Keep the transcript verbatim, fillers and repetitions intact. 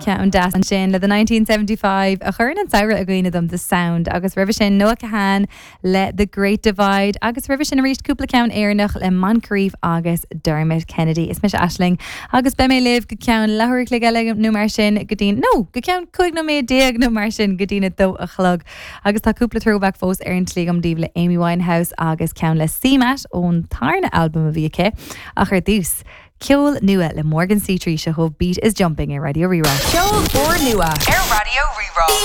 Ceann deas ansin le the nineteen seventy five a chuireann an samhradh i gcuimhne dom The Sound agus roimhe sin Noah Kahan le The Great Divide agus roimhe sin arís cúpla ceann Éireannach le Moncrieff agus Dermot Kennedy. Is mise Aisling agus beidh mé libh go ceann leathuair a chloig eile nó mar sin go dtí nó go ceann cúig nóiméad déag nó mar sin go dtí a dó a chlog. Agus tá cúpla throwback fós ar an tslí agam daoibh le Amy Winehouse agus ceann le CMAT ón tarna albam a bhí aici ach ar dtús. Ceol nua le Morgan C trí seo Beat is Jumping ar Raidió Rí-Rá. Ceol úrnua ar Raidió Rí-Rá.